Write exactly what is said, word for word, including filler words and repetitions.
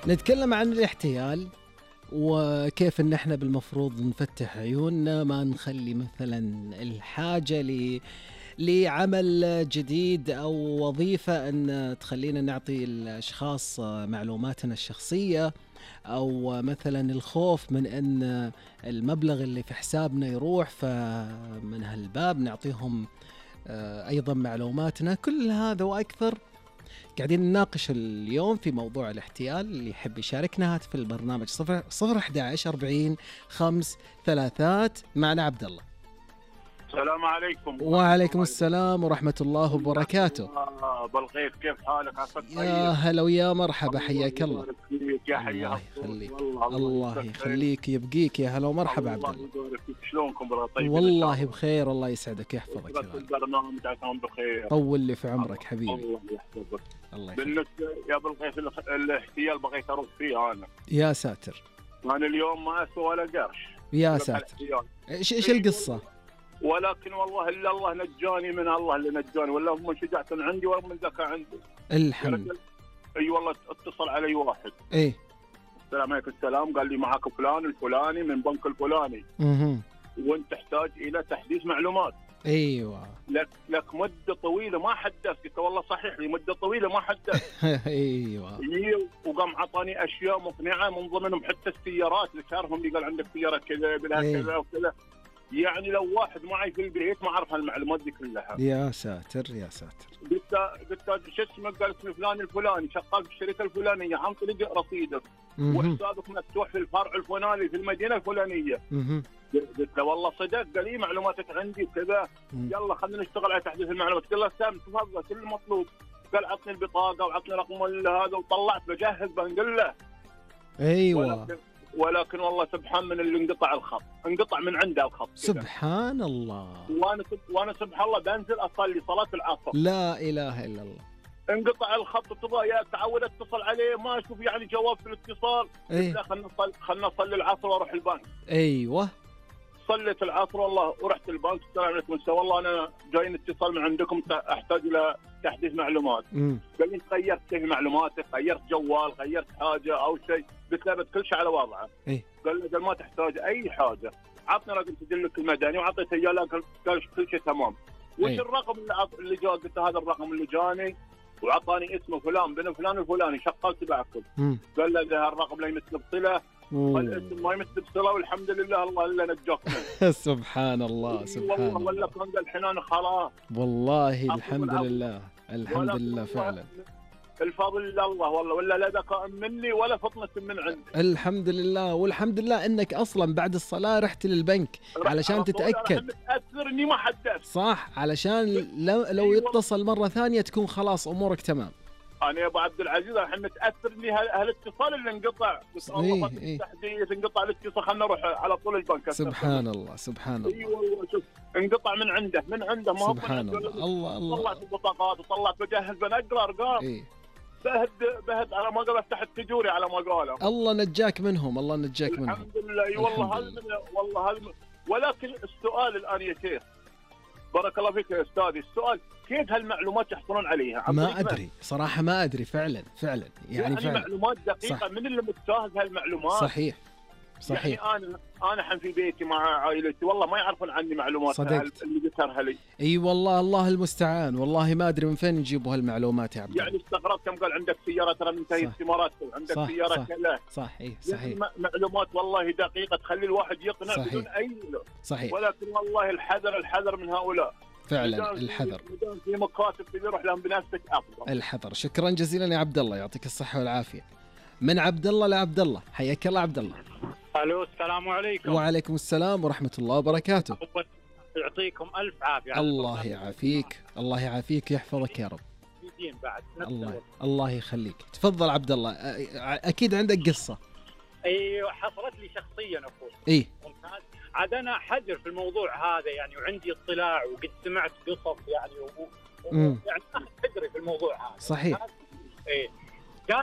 نتكلم عن الاحتيال وكيف ان احنا بالمفروض نفتح عيوننا، ما نخلي مثلا الحاجة ل لعمل جديد أو وظيفة أن تخلينا نعطي الأشخاص معلوماتنا الشخصية، أو مثلا الخوف من أن المبلغ اللي في حسابنا يروح، فمن هالباب نعطيهم أيضا معلوماتنا. كل هذا وأكثر قاعدين نناقش اليوم في موضوع الاحتيال. اللي يحب يشاركنا هات في البرنامج صفر صفر أحد عشر أربعين خمس ثلاثات. معنا عبد الله. السلام عليكم. وعليكم السلام ورحمة الله وبركاته. بالخير، كيف حالك؟ يا هلا ويا مرحبا، حياك الله. يا حياك الله يخليك، الله يخليك يبقيك. يا هلا ومرحبا عبد الله. شلونكم بالله؟ طيب والله بخير، الله يسعدك يحفظك. البرنامج عساكم بخير. طول لي في عمرك حبيبي. الله يحفظك. الله يخليك. بالنسبة يا بالخير الاحتيال بغيت أرد فيه أنا. يا ساتر. أنا اليوم ما أسوى ولا قرش. يا ساتر. إيش إيش القصة؟ ولكن والله إلا الله نجاني، من الله اللي نجاني، ولا من شجاعة عندي ولا من ذكاء عندي. الحمد. اي والله اتصل علي واحد. ايه السلام عليكم. السلام. قال لي معك فلان الفلاني من بنك الفلاني، اها، وانت تحتاج الى تحديث معلومات. ايوه. لك لك مده طويله ما حدثت. قلت والله صحيح لي مده طويله ما حدثت. ايوه. وقام عطاني اشياء مقنعه، من ضمنهم حتى السيارات اللي شارهم لي. قال عندك سياره كذا بلا إيه. كذا وكذا. يعني لو واحد معي في البيت ما اعرف هالمعلومات دي كلها. يا ساتر يا ساتر. قلت قلت شو اسمه؟ قال اسمه فلان الفلاني شغال في الشركه الفلانيه، عن طريق رصيدك وحسابك مفتوح في الفرع الفلاني في المدينه الفلانيه. قلت له والله صدق. قال لي معلوماتك عندي وكذا، يلا خلينا نشتغل على تحديث المعلومات. قال له سام تفضل كل المطلوب. قال عطني البطاقه وعطني رقم هذا، وطلعت بجهز بنقول له. ايوه. ولكن, ولكن والله سبحان من اللي انقطع الخط، انقطع من عنده الخط. سبحان الله. وانا وانا سبحان الله بنزل اصلي صلاه العصر، لا اله الا الله، انقطع الخط. تبغى يا تعود اتصل عليه ما اشوف يعني جواب في الاتصال. ايه. لا خلنا نصلي خلنا نصلي العصر واروح البنك. ايوه. صليت العصر والله ورحت البنك. السلام عليكم، والله انا جاي اتصال من عندكم، احتاج الى تحديث معلومات. مم. قال لي غيرت شيء معلوماتك، غيرت جوال، غيرت حاجه او شيء. قلت له كل شيء على وضعه. ايه. قال لي قال ما تحتاج اي حاجه، عطني رقم سجلك المدني، وعطيته اياه. قال كل شيء تمام. وش أيه. الرقم اللي عط... اللي جاء؟ قلت هذا الرقم اللي جاني، وعطاني اسمه فلان بن فلان الفلاني شغال تبعكم. قال له ده الرقم لا يمثل بصله، والاسم ما يمثل بصله، والحمد لله الله الا نجاك منه. سبحان الله سبحان الله. والله ولا كان قال الحين انا خلاص. والله الحمد لله الحمد لله فعلا. الفضل لله والله، ولا لا ذكاء مني ولا فطنة من عندي. الحمد لله، والحمد لله انك اصلا بعد الصلاة رحت للبنك علشان تتأكد. متأثر اني ما حدثت. صح، علشان لو, لو يتصل مرة ثانية تكون خلاص امورك تمام. انا يا ابو عبد العزيز الحين متاثر اني هالاتصال اللي انقطع. إيه إيه. تحديث انقطع الاتصال، خلنا نروح على طول البنك. سبحان الله سبحان الله. اي والله شوف انقطع من عنده من عنده ما سبحان الله. الله الله. طلعت البطاقات وطلعت بجهز بنقرا ارقام. إيه. بهد بهد على ما قال افتح التجوري على ما قاله. الله نجاك منهم، الله نجاك منهم. الحمد لله. اي والله هذا والله هذا. ولكن السؤال الان يا شيخ، بارك الله فيك يا استاذي، السؤال كيف هالمعلومات يحصلون عليها؟ ما ادري صراحه، ما ادري فعلا فعلا يعني, يعني فعلا معلومات دقيقه. صح. من اللي متجاهز هالمعلومات؟ صحيح صحيح. يعني انا انا الحين في بيتي مع عائلتي والله ما يعرفون عني معلومات اللي ذكرها لي. اي والله الله المستعان، والله ما ادري من فين يجيبوا هالمعلومات يا عبد. يعني استغربت كم قال عندك سياره ترى منتهيه الثمارات، عندك صح سياره صح كذا. صح. اي صحيح. يعني معلومات والله دقيقه تخلي الواحد يقنع صحيح. بدون اي. صحيح. ولكن والله الحذر الحذر من هؤلاء فعلا. الحذر في مكاتب تروح لهم بنفسك افضل. الحذر. شكرا جزيلا يا عبد الله، يعطيك الصحه والعافيه. من عبد الله لعبد الله، حياك الله عبد الله. الو السلام عليكم. وعليكم السلام ورحمه الله وبركاته. يعطيكم الف عافيه. الله يعافيك، الله يعافيك يحفظك يا رب. بعد الله الله يخليك. تفضل عبد الله، اكيد عندك قصه. ايوه حصلت لي شخصيا اخوي. اي ممتاز. عاد انا حذر في الموضوع هذا يعني، وعندي اطلاع وقد سمعت قصص يعني و... و... يعني اخذ حذري في الموضوع هذا. صحيح. ايه